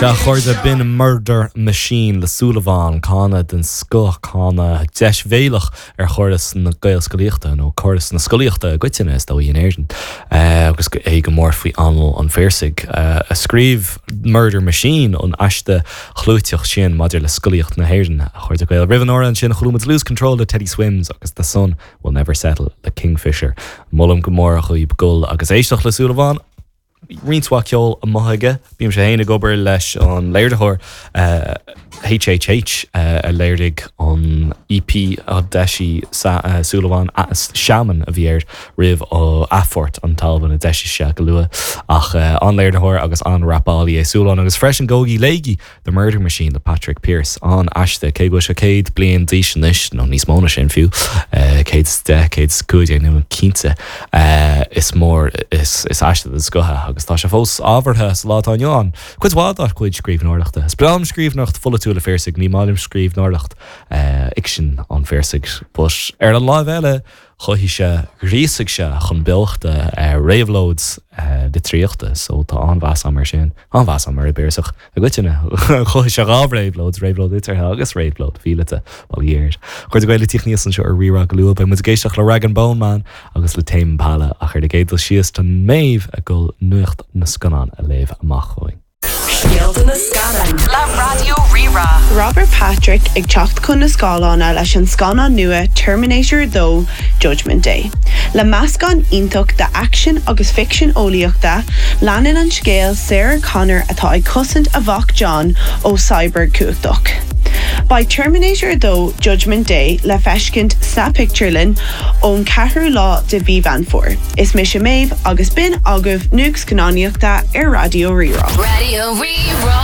Sea, a chairde, b'in Murder Machine le Súilleabhán, cáineadh den scoth, cáineadh deisbhéalach ar chóras na Gaelscolaíochta, nó córas na scolaíochta i gcoitinne, is dóigh, in Éirinn, agus é go mór faoi anáil an Phiarsaigh, a scríobh Murder Machine, an aiste chlúiteach sin maidir le scolaíocht na hÉireann, a chairde Gael. Roimh an amhrán sin, chuala muid Lose Control le Teddy Swims agus The Sun Will Never Settle le Kingfisher. Molaim go mór dhaoib dul agus éisteacht le Súilleabhán. Roinnt mhaith ceoil amuigh aige. Bímse féin ag obair leis an léiritheoir HHH a léirigh an EP a d'eisigh Súilleabhán, Shaman a bhí air roimh athphort an t-albam a d'eisigh sé go luath. Ach an-léiritheoir agus an-rapálaí é Súilleabhán agus freisin gabhaigí léigí The Murder Machine le Patrick Pearse. An-aiste, cé go bhfuil sé 100 bliain d'aois anois, nó níos mó ná sin fiú, 110, 115, níl mé cinnte, is mór is aiste den scoth é agus tá sé fós ábhartha sa lá atá inniu ann. Cuid mhaith dá chuid scríbhneoireachta. Is breá liom scríbhneoireacht pholaitiúil an Phiarsaigh, ní maith liom scríbhneoireacht fhicsin an Phiarsaigh. But ar an láimh eile, chothaigh sé, ghríosaigh sé chun beochta réabhlóid litríochta so tá an-mheas agam air sin, an-mheas agam ar an bPiarsach i gcoitinne. Chothaigh sé dhá réabhlóid, réabhlóid liteartha agus réabhlóid mhíleata, bail ó Dhia air. A chairde Gael ag tíocht aníos anseo ar Rí-Rá go luath, beidh muid ag éisteacht le Rag'n'Bone Man agus le Tame Impala ach ar an gcéad dul síos tá Méabh ag dul nuacht na scannán a léamh amach chugainn. Scéalta na Scannán le Raidió Rí-Rá. Robert Patrick ag teacht chun na scáileáin leis an scannán nua Terminator 2, Judgment Day. Le meascán iontach d'aicsean agus ficsean eolaíochta, leanann an scéal Sarah Connor atá ag cosaint a mhac John ó cyborg cumhachtach. Beidh Terminator 2, Judgment Day le feiscint sna pictiúrlanna ón 4ú lá de mhí Mheán Fómhair. Is mise Méabh agus b'in agaibh Nuacht Scannánaíochta ar Raidió Rí-Rá. Raidió Rí-Rá.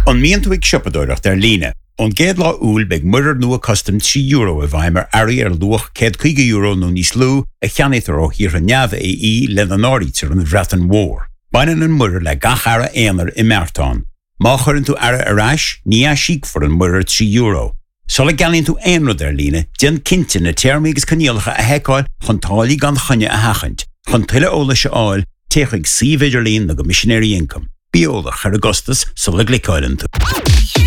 An mbíonn tú ag siopadóireacht ar líne? Ón gcéad lá Iúil beidh muirear nua custaim €3 i bhfeidhm ar earraí ar luach €150 nó níos lú a cheannaítear ó thíortha neamh-AE lena n-áirítear an Bhreatain Mhór. Baineann an muirear le gach earra aonair i mbeartán. Má chuireann tú earra ar ais, ní aisíocfar an muirear €3. Sula gceannaíonn tú aon rud ar líne, déan cinnte na téarmaí agus coinníollacha a sheiceáil chun táillí gan choinne a sheachaint. Chun tuilleadh eolais a fháil, téigh chuig suíomh idirlín na gCoimisinéirí Ioncaim. Bí eolach ar an gcostas sula gcliceáileann tú.